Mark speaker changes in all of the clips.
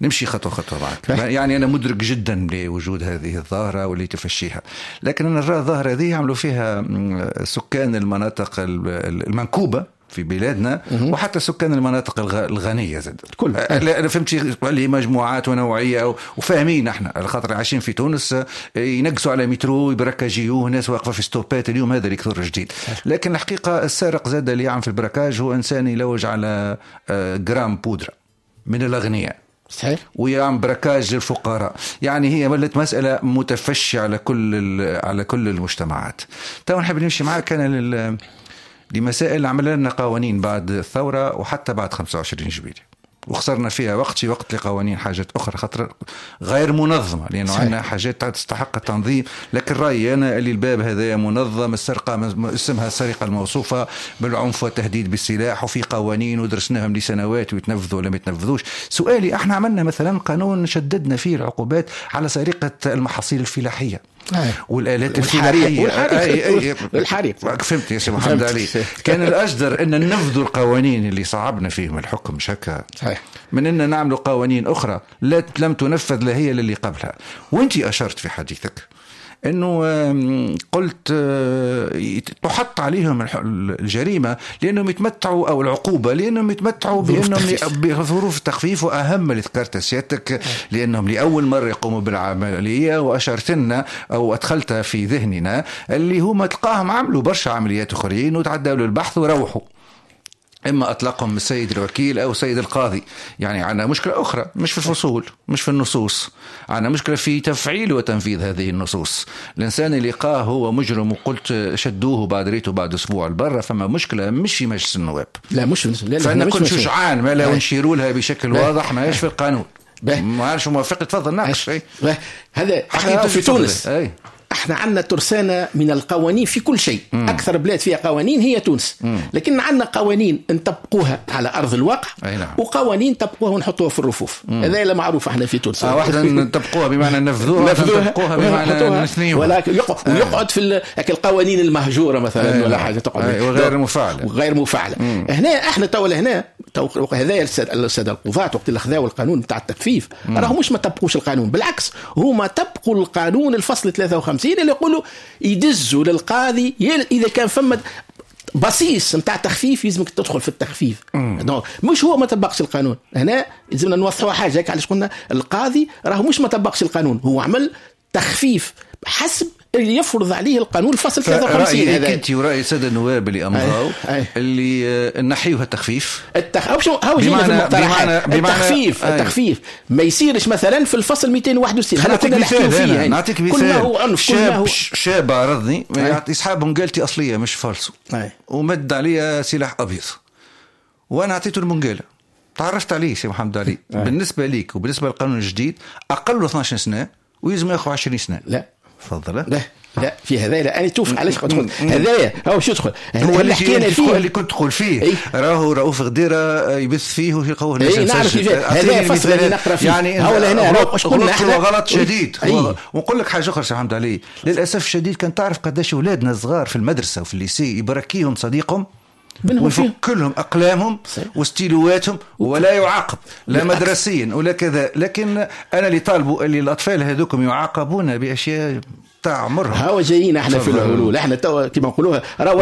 Speaker 1: نمشي خطوة خطوة معك. يعني انا مدرك جدا لوجود هذه الظاهرة واللي تفشيها، لكن انا نرى الظاهرة هذه يعملوا فيها سكان المناطق المنكوبه في بلادنا، وحتى سكان المناطق الغنية زاد
Speaker 2: كل.
Speaker 1: لا فهمتي، اللي مجموعات ونوعية وفاهمين احنا، على خاطر عايشين في تونس، ينقصوا على مترو، يبركاجيوه، ناس واقفة في ستوبات. اليوم هذا اللي كثر جديد. لكن الحقيقة السارق زاد اللي يعمل في ال braquage هو انسان يلوج على جرام بودره من الاغنياء. ويعمل braquage للفقراء. يعني هي ولت مسألة متفشية على كل المجتمعات. تو نحب نمشي معك أنا لمسائل عمل لنا قوانين بعد الثورة وحتى بعد 25 جويلية، وخسرنا فيها وقت في وقت لقوانين حاجات أخرى خاطر غير منظمة، لأنه عندنا حاجات تستحق التنظيم. لكن رأيي أنا اللي الباب هذا منظم، السرقة اسمها السرقة الموصوفة بالعنف والتهديد بالسلاح، وفي قوانين ودرسناهم لسنوات ويتنفذوا ولا ما يتنفذوش. سؤالي، احنا عملنا مثلا قانون شددنا فيه العقوبات على سرقة المحاصيل الفلاحية والآلات الفلاحية.
Speaker 2: والحريق. والحريق.
Speaker 1: فهمت يا سي محمد علي، كان الأجدر أن ننفذوا القوانين اللي صعبنا فيهم الحكم، مش هكا؟
Speaker 2: صحيح.
Speaker 1: من أن نعمل قوانين أخرى لا لم تنفذ لا هي للي قبلها. وأنت أشرت في حديثك انه قلت تحط عليهم الجريمة لانهم يتمتعوا او العقوبة لانهم يتمتعوا بانهم بظروف التخفيف، واهم اللي ذكرت سيادتك لانهم لاول مرة يقوموا بالعمليه، واشرت لنا او ادخلت في ذهننا اللي هما تلقاهم عملوا برشا عمليات اخرين وتعدوا للبحث وروحوا، اما اطلقهم السيد الوكيل او السيد القاضي. يعني عندنا مشكلة اخرى مش في الفصول، مش في النصوص، عندنا مشكلة في تفعيل وتنفيذ هذه النصوص. الانسان اللي لقاه هو مجرم وقلت شدوه بعد ريته بعد اسبوع لبرا، فما مشكلة مش في مجلس النواب.
Speaker 2: لا، مش في
Speaker 1: لا. فانا كنت شجعان ما لا ونشيروا لها بشكل واضح، ما في القانون. ما عارفش موافق، تفضل ناقش.
Speaker 2: هذا احنا في تونس أي. احنا عندنا ترسانة من القوانين في كل شيء. أكثر بلاد فيها قوانين هي تونس. لكن عندنا قوانين نطبقوها على أرض الواقع.
Speaker 1: أي نعم.
Speaker 2: وقوانين نطبقوها ونحطوها في الرفوف. هذا اللي معروف احنا في تونس.
Speaker 1: واحدة نطبقوها بمعنى نفذوها، نطبقوها بمعنى نثنيوها.
Speaker 2: ولكن ويقعد في القوانين المهجورة مثلا ولا حاجة تقعد.
Speaker 1: وغير مفعلة.
Speaker 2: وغير مفعلة. هنا احنا تو هنا تو هذا السادة القضاة وقت اللي خذاو القانون بتاع التخفيف راهو مش ما طبقوش القانون، بالعكس هما طبقوا القانون الفصل 53 اللي يقولوا يدزوا للقاضي اذا كان فما بصيص نتاع تخفيف يلزمك تدخل في التخفيف. donc مش هو ما طبقش القانون. هنا لازمنا نوضحوا حاجه، علاش قلنا القاضي راهو مش ما طبقش القانون، هو عمل تخفيف حسب اللي يفرض عليه القانون الفصل 53.
Speaker 1: هذا انت وراي السادة النواب اللي امضوا اللي نحيوها التخفيف.
Speaker 2: هو جينا في المقترحات التخفيف. التخفيف ما يصيرش مثلا في الفصل 261، هذا كنا نحكيو فيه.
Speaker 1: يعني نعطيك مثال، كل ما هو عنف، كل ما هو شاب عرضني يسحب منقالتي اصلية مش فالسو ومد علي سلاح ابيض وانا اعطيته المنقاله، تعرفت عليه. سي محمد علي، بالنسبة ليك وبالنسبة للقانون الجديد اقل 12 سنة ويلزم ياخذ 20 سنه.
Speaker 2: لا.
Speaker 1: تفضل.
Speaker 2: لا لا، في هذايا لا، انا توف علاش تدخل هذايا هو شو يدخل.
Speaker 1: هو اللي حكينا فيه، اللي كنت تقول فيه إيه؟ راهو رؤوف غديره يبث فيه ويلقوه.
Speaker 2: اي نعرف كيف هذا فصل اللي نقرا فيه.
Speaker 1: يعني
Speaker 2: هو لهنا
Speaker 1: غلط، غلط شديد أيه. ونقول لك حاجة اخرى سي محمد علي، للاسف الشديد كان تعرف قداش اولادنا الصغار في المدرسة وفي ال lycée يبركيهم صديقهم ويفك لهم اقلامهم وستيلواتهم ولا يعاقب لا مدرسيا ولا كذا. لكن انا اللي طالبوا اللي الاطفال هذوكم يعاقبون باشياء تاع عمرهم.
Speaker 2: هاو جايين احنا في الحلول، احنا توا كما نقولوها راهو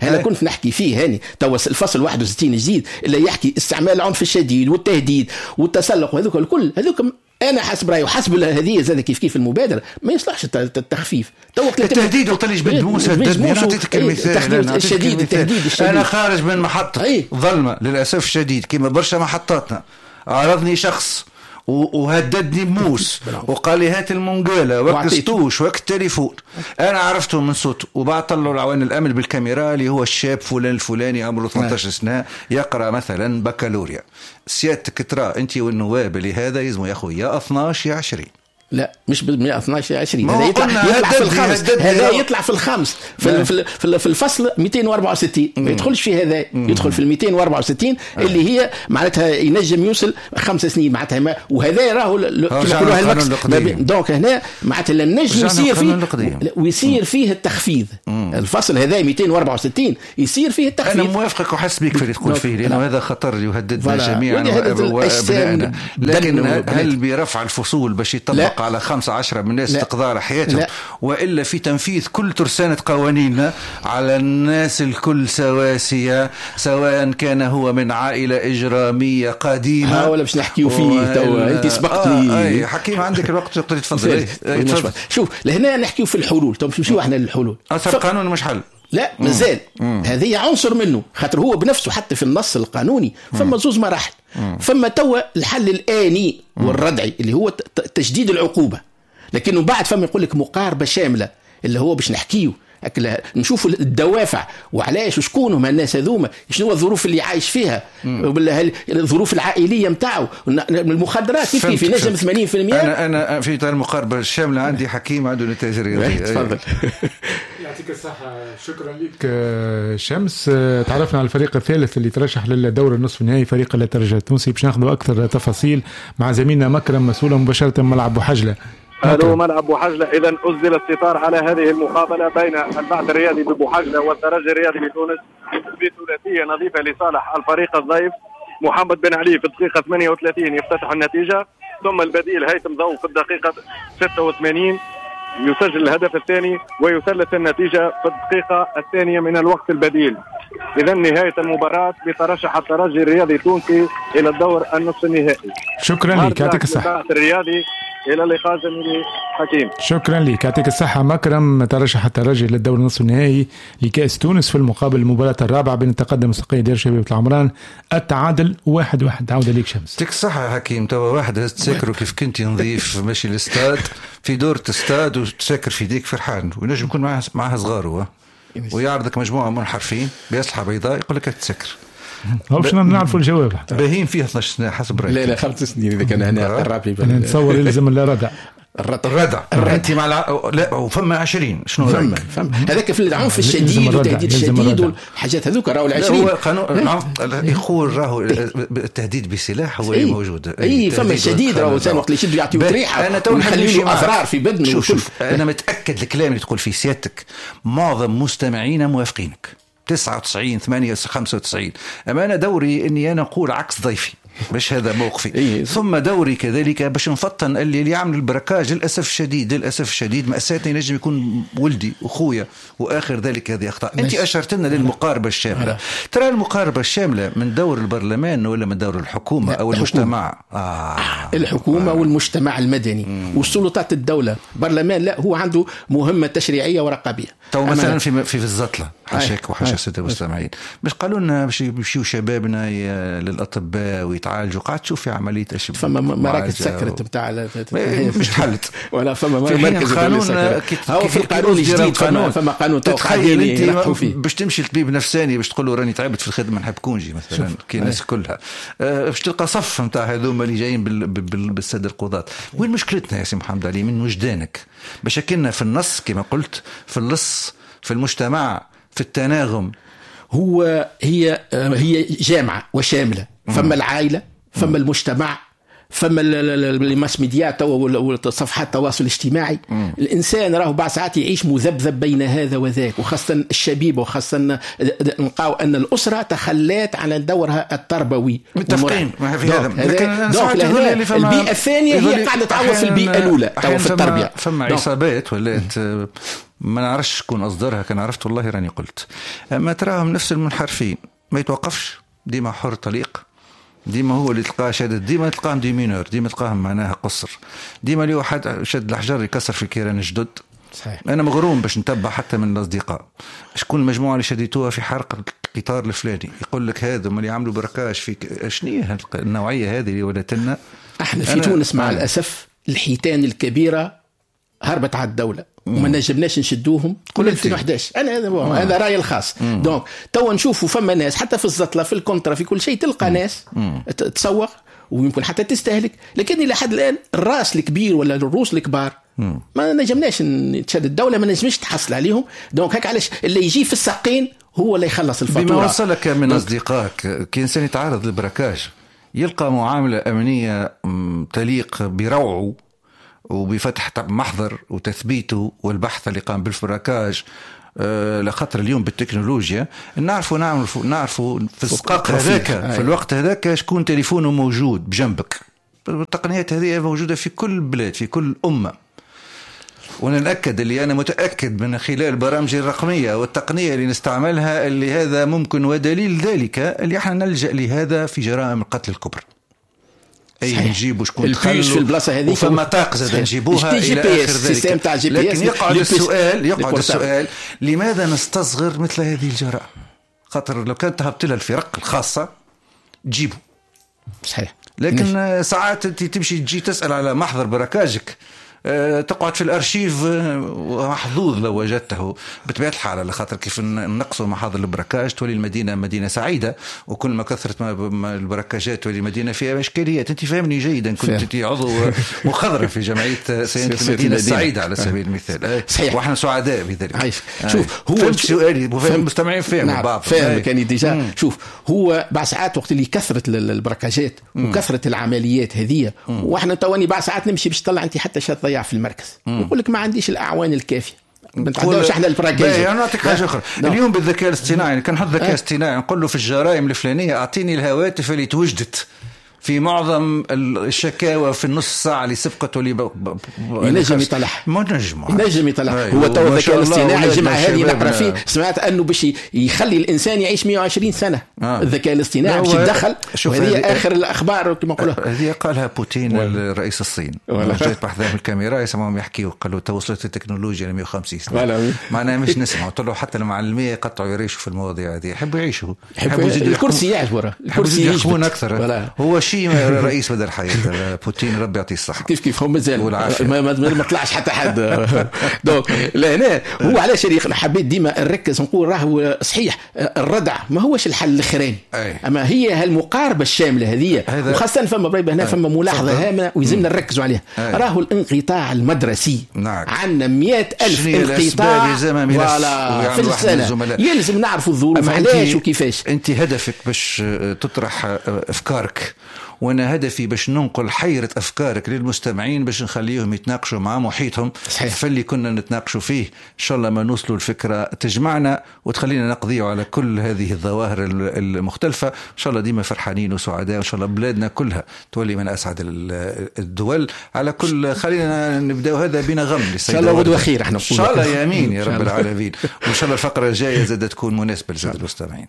Speaker 2: هلا كنت نحكي فيه هاني توا الفصل 61 جديد اللي يحكي استعمال العنف الشديد والتهديد والتسلق وهذوك الكل، هذوك انا حسب رايي وحسب هذه زاد كيف كيف المبادرة ما يصلحش التخفيف.
Speaker 1: تو التهديد وقت اللي جبد موس هددني، انا اعطيتك المثال.
Speaker 2: الشديد، التهديد الشديد.
Speaker 1: انا خارج من محطة ظلمه للاسف الشديد كما برشا محطاتنا، عرضني شخص وهددني بموس وقال لي هات المنقالة وكستوش وك التليفون. انا عرفته من صوته، وبعد طلعوا العوان الامن بالكاميرا اللي هو الشاب فلان الفلاني عمره 18 سنة يقرا مثلا بكالوريا. سيادتك ترى انت والنواب اللي هذا يلزموا ياخذ يا 12 يا 20.
Speaker 2: لا مش ب 112 20، هذا يطلع في الخامس، هذا يطلع في الخامس في الفصل 264، ما يدخلش في هذا، يدخل في 264 اللي هي معناتها ينجم يوصل 5 سنين معناتها، وهذا راهو كما نقولوها ال max. donc هنا معناتها النجم يصير فيه ويصير فيه التخفيض. الفصل هذا 264 يصير فيه التخفيض.
Speaker 1: انا موافقك وحس بك في اللي تقول فيه، لانه هذا خطر يهددنا جميعا وابنائنا. لكن هل برفع الفصول باش يطبق على 15 من الناس تقضى على حياتهم، والا في تنفيذ كل ترسانة قوانيننا على الناس الكل سواسية، سواء كان هو من عائلة إجرامية قديمة
Speaker 2: ولا باش نحكيو فيه توا انت سبقتني.
Speaker 1: حكيم عندك الوقت تقدر تفضل.
Speaker 2: شوف لهنا نحكيو في الحلول، تو باش نمشيو احنا للحلول.
Speaker 1: اصل القانون مش حل،
Speaker 2: لا مازال هذه عنصر منه، خاطر هو بنفسه حتى في النص القانوني فما زوز مراحل. فما توا الحل الآني والردعي اللي هو تشديد العقوبة، لكنه بعد فما يقول لك مقاربة شاملة اللي هو باش نحكيه نشوفوا الدوافع وعلاش وشكون هما الناس هذوما، شنو الظروف اللي عايش فيها، الظروف العائلية نتاعو، المخدرات كيف كيف ينجم 80%.
Speaker 1: انا في اطار المقاربة الشاملة عندي حكيم عنده نتائج رياضية.
Speaker 2: تفضل.
Speaker 3: يعطيك الصحة، شكرا لك شمس. تعرفنا على الفريق الثالث اللي ترشح للدور النصف النهائي، فريق الترجي التونسي، باش ناخذ اكثر تفاصيل مع زميلنا مكرم مسؤول مباشرة من ملعب بوحجله.
Speaker 4: ألو ملعب بوحجلة. إذا أسدل الستار على هذه المقابلة بين البعث الرياضي ببوحجلة والترجي الرياضي بتونس بثلاثية نظيفة لصالح الفريق الضيف. محمد بن علي في الدقيقة 38 يفتتح النتيجة، ثم البديل هيثم ضو في الدقيقة 86 يسجل الهدف الثاني ويثلث النتيجة في الدقيقة الثانية من الوقت البديل. إذا نهاية المباراة بترشح الترجي الرياضي التونسي إلى الدور النصف النهائي.
Speaker 3: شكرا لك، يعطيك الصحة.
Speaker 4: الرياضي إلى اللقاء زميلي حكيم.
Speaker 3: شكرا لك، يعطيك الصحة مكرم. ترشح الترجي للدور النصف النهائي لكأس تونس. في المقابل المباراة الرابعة بين التقدم السقي ديال شبيبة العمران، التعادل 1-1. عودة ليك شمس.
Speaker 1: يعطيك الصحة حكيم. توا واحد تساكرو كيف كنت نظيف ماشي للاستاد في دورة استاد وتساكر في ديك فرحان، وينجم يكون معها صغاره ويعرضك مجموعة منحرفين بأسلحة بيضاء يقول لك تسكر.
Speaker 3: هو باش نعرفوا الجواب.
Speaker 1: باهين فيها 12 سنة حسب رأيك.
Speaker 2: لا لا 5 سنين إذا كان هنا قرب لي.
Speaker 3: أنا نتصور يلزم الردع.
Speaker 1: الردع أنت مع لا وفما 20 شنو رأيك؟
Speaker 2: فما هذاك في العنف الشديد والتهديد الشديد والحاجات هذوك راهو 20.
Speaker 1: هو قانون يقول راهو التهديد بسلاح هو اللي موجود.
Speaker 2: اي فما الشديد راهو الانسان وقت اللي يشد يعطيه ريحه.
Speaker 1: أنا تو
Speaker 2: نخلي له أضرار في بدنه.
Speaker 1: شوف أنا متأكد الكلام اللي تقول فيه سيادتك معظم مستمعينا موافقينك 99 8 95. أما أنا دوري أني أنا أقول عكس ضيفي، باش هذا موقفي. ثم دوري كذلك باش نفطن اللي يعمل ال braquage للأسف الشديد، للأسف الشديد مأساتنا ينجم يكون ولدي وخويا وآخر ذلك هذه أخطاء. أنت أشرت لنا للمقاربة الشاملة. ترى المقاربة الشاملة من دور البرلمان ولا من دور الحكومة أو المجتمع؟
Speaker 2: الحكومة والمجتمع المدني والسلطات الدولة. برلمان لا، هو عنده مهمة تشريعية ورقابية.
Speaker 1: تو مثلا في الزطلة حاشاك وحاشا السادة المستمعين، مش قالوا لنا باش يمشيو شبابنا للأطباء ويتعالجوا، قاعد تشوف في عملية أشبه
Speaker 2: فما مراكز سكرت بتاع
Speaker 1: مش تحلت
Speaker 2: ولا فما مركز هو في القانون الجديد فما قانون
Speaker 1: تخيل انت باش تمشي لطبيب نفساني باش تقول له راني تعبت في الخدمة نحب congé مثلا كي الناس كلها، باش تلقى صف نتاع هذوما اللي جايين بالسادة القضاة. وين مشكلتنا يا سي محمد علي من وجدانك؟ مشاكلنا في النص كما قلت، في اللص، في المجتمع، في التناغم.
Speaker 2: هو هي جامعة وشاملة. فما العائلة، فما المجتمع، فما ال mass media وصفحات التواصل الاجتماعي. الإنسان راهو بعض ساعات يعيش مذبذب بين هذا وذاك، وخاصة الشبيبة، وخاصة نلقاو أن الأسرة تخلات على دورها التربوي.
Speaker 1: متفقين في هذا.
Speaker 2: البيئة الثانية هي قاعدة تعوض في البيئة الأولى في التربية.
Speaker 1: فما عصابات ولات ما نعرفش شكون أصدرها، كان عرفت والله راني قلت. أما تراهم نفس المنحرفين ما يتوقفش، ديما حر طليق، ديما هو اللي تلقاه شادد، ديما تلقاهم des mineurs، ديما تلقاهم معناها قصر، ديما اللي واحد شد الحجر يكسر في الكيران الجدد.
Speaker 2: صحيح.
Speaker 1: أنا مغروم باش نتبع حتى من الأصدقاء شكون المجموعة اللي شديتوها في حرق القطار الفلاني، يقول لك هذا اللي عملوا braquage في شنية النوعية هذه اللي ولات لنا
Speaker 2: احنا في تونس. مع الأسف الحيتان الكبيرة هربت على الدولة وما نجمناش نشدوهم قبل 2011. انا هذا رايي الخاص. donc توا نشوفوا فما ناس حتى في الزطله، في ال contre، في كل شيء تلقى ناس تسوق ويمكن حتى تستهلك، لكن الى حد الان الراس الكبير ولا الروس الكبار ما نجمناش تشد الدولة، ما نجمش تحصل عليهم. donc هيك علاش اللي يجي في الساقين هو اللي يخلص الفاتورة.
Speaker 1: بما وصلك من اصدقائك، كي انسان يتعرض لل braquage يلقى معاملة امنية تليق بروعه وبفتح محضر وتثبيته والبحث اللي قام بال braquage، لخاطر اليوم بالتكنولوجيا نعرفوا نعرفوا في السقاق هذاك في الوقت هذاك شكون تليفونه موجود بجنبك. التقنيات هذه موجودة في كل بلاد في كل أمة، وانا نأكد اللي أنا متأكد من خلال البرامج الرقمية والتقنية اللي نستعملها اللي هذا ممكن، ودليل ذلك اللي احنا نلجأ لهذا في جرائم القتل الكبرى. اي نجيبوا شكون دخل
Speaker 2: في البلاصة هذيك
Speaker 1: وفما طاق زاد نجيبوها الى اخر ذلك. لكن يقعد السؤال لماذا نستصغر مثل هذه الجرائم؟ خاطر لو كانت تهبط لها الفرق الخاصة تجيبه.
Speaker 2: صحيح.
Speaker 1: لكن ساعات انت تمشي تجي تسال على محضر براكاجك، تقعد في الارشيف محظوظ لو وجدته. بطبيعة الحال على خاطر كيف نقصوا محاضر ال braquage تولي المدينة مدينة سعيدة، وكل ما كثرت البراكاجات تولي المدينة فيها اشكاليات. انت فاهمني جيدا، كنت انت عضو مخضرم في جمعية صيانة المدينة السعيدة على سبيل المثال.
Speaker 2: صحيح.
Speaker 1: واحنا سعداء بذلك.
Speaker 2: عايش. شوف هو
Speaker 1: فهمت سؤالي، المستمعين فهموا بعض.
Speaker 2: فاهم كان déjà. شوف هو بعد ساعات وقت اللي كثرت البراكاجات وكثرت العمليات هذه، واحنا تواني بعد ساعات نمشي باش تطلع انت حتى شات ضيع في المركز، يقول لك ما عنديش الاعوان الكافيه، ما نتعداوش احنا ال braquage.
Speaker 1: انا نعطيك حاجة اخرى. اليوم بالذكاء الاصطناعي كان نحط ذكاء اصطناعي نقول له في الجرائم الفلانية اعطيني الهواتف اللي توجدت في معظم الشكاوى في النص ساعة اللي سبقت واللي
Speaker 2: ينجم يطلع.
Speaker 1: ما نجم
Speaker 2: ينجم يطلع. هو تو الذكاء الاصطناعي الجمعة هذه نقرا فيه، سمعت انه باش يخلي الانسان يعيش 120 سنة. الذكاء الاصطناعي باش يتدخل، وهذه اخر الاخبار كما نقولوا.
Speaker 1: هذه قالها بوتين الرئيس الصين، جاي بحذاهم الكاميرا يسمعهم يحكيوا، قالوا توصلت التكنولوجيا ل 150 سنة. معناها مش نسمعوا، طلعوا حتى المعلميه يقطعوا يريشوا في المواضيع هذه، يحبوا يعيشوا،
Speaker 2: يحبوا الكرسي يعجبه، الكرسي
Speaker 1: يحبون اكثر. هو شيء رئيس بدل الحياة بوتين، ربي يعطيه الصحة.
Speaker 2: كيف كيف هم مازال ما طلعش حتى حد. donc لهنا هو علاش حبيت ديما نركز نقول راهو صحيح الردع ما هوش الحل الاخراني، اما هي هالمقاربة الشاملة هذه، وخاصة فما بريبه هنا فما ملاحظة هامة ويلزمنا نركزوا عليها. راهو الانقطاع المدرسي. عندنا 100,000 انقطاع في السنة، يلزم نعرفوا الظروف علاش وكيفاش.
Speaker 1: انت هدفك باش تطرح افكارك، وانا هدفي باش ننقل حيرة افكارك للمستمعين باش نخليهم يتناقشوا مع محيطهم.
Speaker 2: صحيح.
Speaker 1: فاللي كنا نتناقشوا فيه ان شاء الله ما نوصلوا الفكرة تجمعنا وتخلينا نقضي على كل هذه الظواهر المختلفة. ان شاء الله ديما فرحانين وسعداء، وان شاء الله بلادنا كلها تولي من اسعد الدول. على كل خلينا نبداو هذا بنغم
Speaker 2: ان شاء الله غدوة خير احنا
Speaker 1: ان شاء الله، يا امين يا رب العالمين. وان شاء الله الفقرة الجاية زادة تكون مناسبة للسادة المستمعين.